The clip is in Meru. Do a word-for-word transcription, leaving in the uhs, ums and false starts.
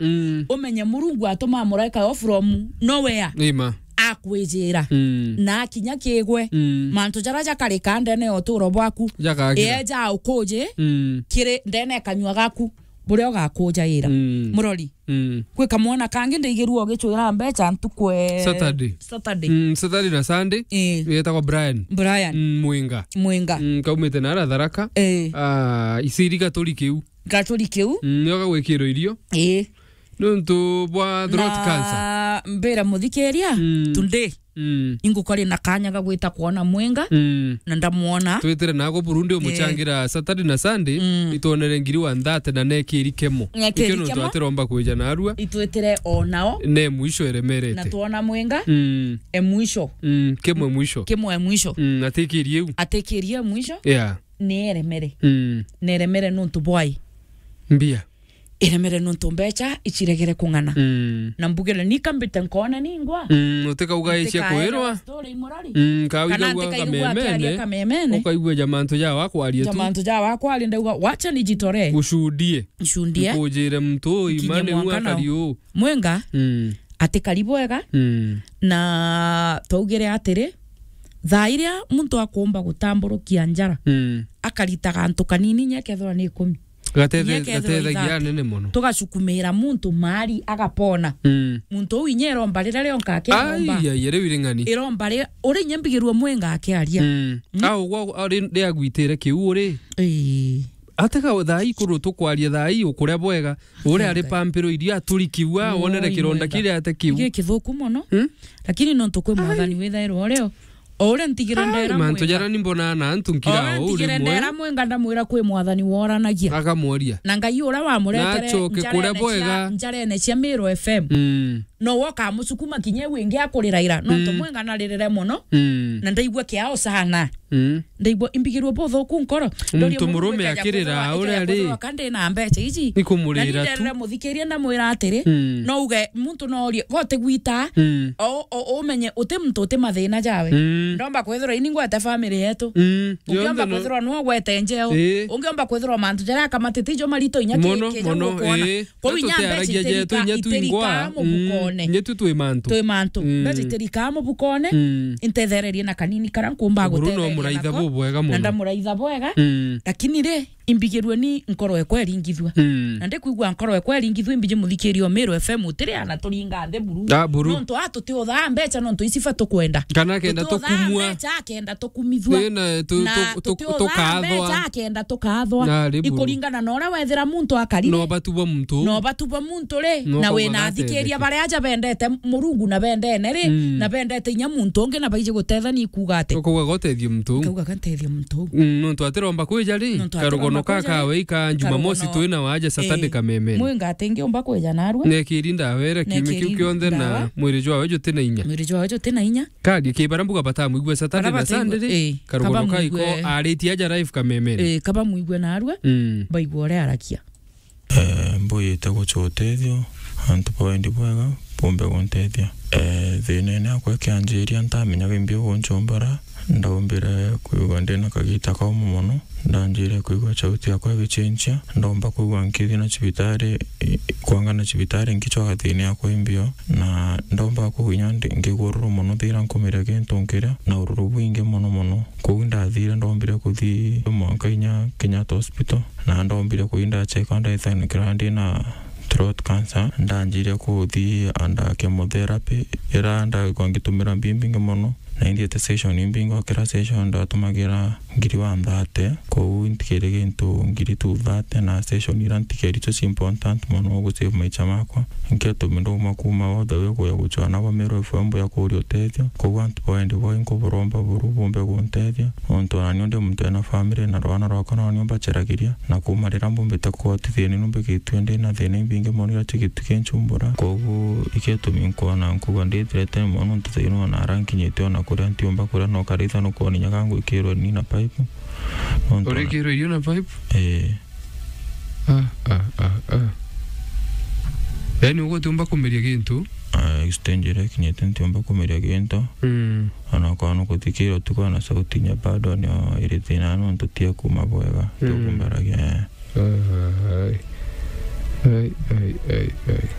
Mm. Umenye Murungu atuma muraika yo from nowhere. Ima. Akwijira. Mm. Na akinya kigwe. Mm. Mantu jaria jakarika ndene ya uturo bwaku. Jakagira. Eja ukuji. Mm. Kiri ndene kanyua gaku. Buria ugakujaira. Mm. Murori. Mm. Kwi kamwana kangi ndaigirua ugicwira mbeca ntuku e Saturday. Saturday. Mm, Saturday na Sunday. Eh. Wetagwa Brian. Brian. Mm, Mwinga. Mwinga. Mm, kaumite na ara Tharaka. Eh. Ah, isiri gaturi kiu. Gaturi kiu. Mm, nio gagwikirwo irio. Eh. Nontu bwa throat cancer. Na mbira muthikiria, mm, today. Mm. Ingukori na kanya ga gwita kwona Mwinga, mm, na ndamwona. Twitire nago Burundi umuchangira Saturday na Sunday, mm, itwonere ngiri wa nthate na nekiri kemo. Nekiri kemo. Ikio nontu atiromba kwija narua. Itwitire o nao. Ne mwisho eremerete. Na twona Mwinga, mm, e mwisho. Mm, kemo e mwisho. Kemo e mwisho. Mm, atikirie u. Atikirie mwisho. Yeah. Ni eremere. Mm. Ni eremere nontu bwai. Mbia. Iremere nontu mbeca iciregere kung'ana. Mm. Na mbugire, ni kambite nkona ningwa. Mm, utikauga icia kwirwa. Story imurari. Mm, kana kawiga ntikaiigua akiaria kamemene, kamemene. Ukaigua jamantu jawa kwaria tu. Jamantu jawa kwaria, ndauga, wacha nijitolee. Ushudie. Nshundie. Nkujire muntu uyu, nkinye imani mwanka nao. Akari uu. Mwenga, mm, atikari bwega. Mm. Na twaugire atiri, thaa iria muntu akumba gutamburukia njara, mm, akarita gantu kanini, inya kethirwa ni ikumi. Gate-, inya kethirwa gatethagia ithaatu, anene mono. Tugacukumira muntu mari agapona. Mm. Muntu uu inya iromba riria rionka akiromba. Ai, ai, riu iri ng'ani. Iromba ri-, uria inya mbigirua Mwenga akiaria. Mm. Mm. Au gwa, ari, riagwitire kiu uri. Ii. Atega thaa ii kuru tukwaria thaa ii ukuria bwega. Uria ari pampiro iria aturikiwa, wonere kironda kiria ate kiu. Gikithuku mono. Hmm? Lakini nontu kwi mwathani withairwa urio. O uria ntigire ndera mantu Mwenga. Jara ni mbonaa na antu nkira o uria ntigire ndera Mwenga ndamwira kwi mwathani woranagia. Akamworia. Na Ngai uria wamuretere. Na acoke kuria njara ene cia, bwega. Njara ene cia Meru F M. Mm. No woka amucukuma kinya iu ingi akuriraira. Nontu, mm, Mwenga naririre mono. Mm. Na ndaigua kiao sana. Mm. Ndaigua imbigirwe buthuku nkoro. Muntu murume akirira uria ri. Kandi na mbeca iji. Ikumurira tu. Na nderere muthikiria ndamwira atiri, mm, no uge muntu no orie, gote gwita. Mm. O, o, umenye uti muntu uti mathina jawe. Mm. Ndomba kwithirwa ini ngwete family yetu. Mm. Ungiomba kwithirwa no gwete njeo. Ii. Ungiomba kwithirwa mantu jaria akamatite ijo marito inya ki-, mono, kinya mono, gukona. Ii. Kwou inya mbeca itirikaa mubukone. Mm, inya tu twi mantu. Twi mantu. Mm. Mbeca itirikaa mubukone. Mm. Intethererie na kanini karia nkumba gutetheria nako. Buru no muraitha bubwega mono. Na ndamuraitha bwega. Mm. Lakini ri, imbigirue ni nkoro ekwa iringithua. Mm. Na ndikwigua nkoro ekwa iringithua, imbiji muthikiria o Meru F M utiri ana turinga nthi buru. Ah, buru. Nontu a tutiuthaa mbeca nontu iciba tukwenda. Kana kenda tukumua. Tutiuthaa mbeca kenda tukumithua. Ii, na tu-, na tu-, tu-, tutiuthaa tukathwa. Mbeca kenda tukathwa. Na ri buru. Ikuringana na uria wethira muntu akarire. No batu bwa muntu. No batu bwa muntu ri. No na kauga wina athikiria baria aja bendete Murungu na bendene ri, mm, na bendete inya muntu ungi na baiji gutethania ikuuga ati. Ukauga gotethia muntu. Ukauga gotethia muntu. Mm, nontu atiromba kwija ri. Nontu atiromba kwija ri. Karugono ka kawe ika Jumamosi twina waja Saturday kamemene. Mwenga atingiumba kwija narua. Nekiri ndawa iria kiumia kiu kionthe na mwiri jwawe juti na inya. Mwiri jwawe juti na inya. Kari kibara mbuga batamwigua Saturday na Sunday ri. Karugono ka iko aritie aja live kamemene. Eh, kaba mwigua narua. Mm. Baigua uria arakia. Eh, mbuyite gucwa utethio, antu ba wendi bwega bumbe guntethia. Eh, thinene akwa ikianjiria ntamenyaga imbi ugunchumbura, ndaumbire kwigua ndina kagita kaumu mono, ndanjire kwigua chauti yakwa igichinchia, ndomba kwigua nkithi na cibitari, i-, kwanga na cibitari nkichwa gathini yakwa imbio, na ndomba kwigua inya ndi-, ngigururu mono thira nkumiria gintu nkiria, na ururu bwingi mono mono. Kuu ndathire ndombire kuthi mwanka inya Kenyatta Hospital, na ndombire kuthi ndachekwa ndethanikira ndina throat cancer, ndanjire kuthi under chemotherapy, ira ndagikwa ngitumira mbi mbingi mono, na indiete session imbingi, o kira session ndatumagira ngiri wa nthate, kou ntikiri gintu ngiri tu thate, na session ira ntikeri icio ci important mono gu save maicha makwa. Nkio tumi ndauma kuuma all the way kuya guchwa nabo Meru F M ya kuria utethio. Koguo antu ba wendi bwao inkuburomba buru bumbe guntethia, nontu onani ndi muntu ena family na rwana rwakwa nonio mbacharagiria, na kuuma riria mbumbite kuotithia ni numbikitue ndi na thina imbingi mono iria chigituki nchumbura. Koguo ikio tumi nkwona nkuga ndithirete mono, nontu thaino ona ara nkinyite ona kuria ntiumba kuria, no karitha nukwona inya gangwikirwe ni na pipe. Nontu ona urikirwe irio na pipe? Ee. Ah, ah, ah, ah. Yaani, ugutiumba kumeria gintu? Ah, stage iria ikinyite ntiumba kumeria gintu. Mm. Ona kwa no kuthikira utuku na sauti inya bado nio iri thina nontu tia kuma bwega. Mm. Tukumbaragia, eh. Ai. Ai, ai, ai, ai.